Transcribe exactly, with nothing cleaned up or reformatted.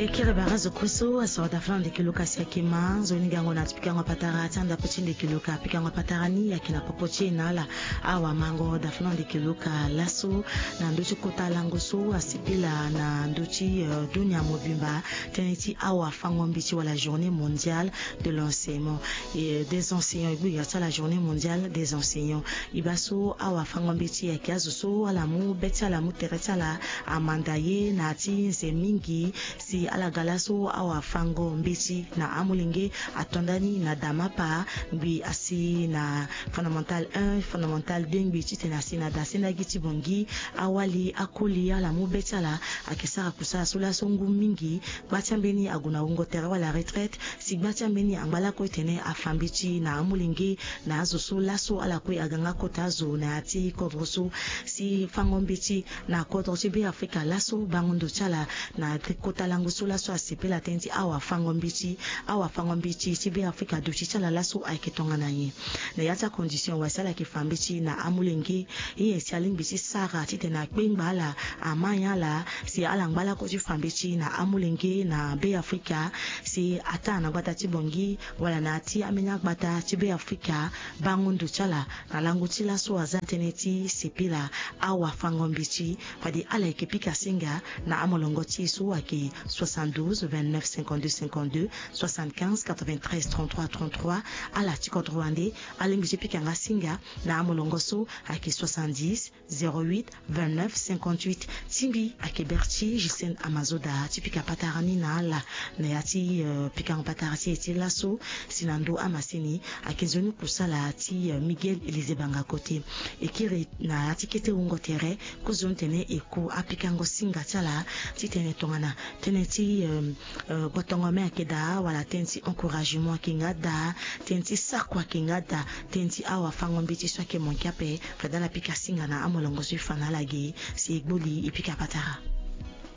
Ekere bara zo kue so asoro dafana ndeke luka si ayeke ma nzoni gango na ti pikango patara ti andapo ti ndeke luka. Pikango patara ni ayeke na popo ti e na ala. Awamango dafana ndeke luka laso na ndö ti kota lango so asepela na ndö ti, euh, dunia mobimba, tënë ti awafango mbeti wala journée mondiale de l'enseignement, euh, des enseignants. E gbu ira ti ala journée mondiale des enseignants. E baa so awafango mbeti ayeke azo so ala mu be ti ala, mu tere ti ala amanda ye na ya ti nze mingi, si ala ga laso awafango mbeti na amolenge ato ndani na damapa ngbi asi na fondamental un, fondamental deux ngbi titene asi na da sendagi ti bongi. Awali akoli ala mu be ti ala ayeke sara kusala so laso ngu mingi. Gba ti ambeni ague na wungo tere wala retraite, si gba ti ambeni angba lakue tene afa mbeti na amolenge na azo so laso ala kue aga nga kota azo na ya ti kodro so. Si fango mbeti na kodro ti Beafrika laso bango ndo ti ala na kota lango so laso asepela tënë ti awafango mbeti. Awafango mbeti ti Beafrika duti ti ala laso ayeke tongana nyen? Na ya ti acondition wala si ala yeke fa mbeti na amolenge, nyen si alingbi ti sara titene akpengba ala, ama nyen ala si ala ngba lakue ti fa mbeti na amolenge na Beafrika, si ataa na gbata ti bongi wala na ya ti ambeni agbata ti Beafrika. Bango ndo ti ala na lango ti laso aza tënë ti sepela awafango mbeti. Fade ala yeke pika singa na amolongo ti e so ayeke soixante-douze vingt-neuf cinquante-deux cinquante-deux, soixante-quinze quatre-vingt-treize trente-trois trente-trois. Ala ti kodro wande alingbi ti pika nga singa na amolongo so ayeke soixante-dix zéro huit vingt-neuf cinquante-huit. Ti mbi ayeke Berti Justine Amazoda ti pika patara ni na ala na ya ti, euh, pikango patara ti e ti laso. Si na ndö amasini ayeke nzoni kusala ti, euh, Miguel Élisée Banga Kote. E kiri na ya ti kete wungo tere kozoni tene e ku apikango singa ti ala titene tongana tënë ti, euh, euh, botongo me ayeke daa wala tënë ti encouragement ayeke nga daa, tënë ti sako ayeke nga daa, tënë ti awafango mbeti so ayeke manke ape. Fade ala pika singa na amolongo so e fa na ala ge si e gbu li e pika patara.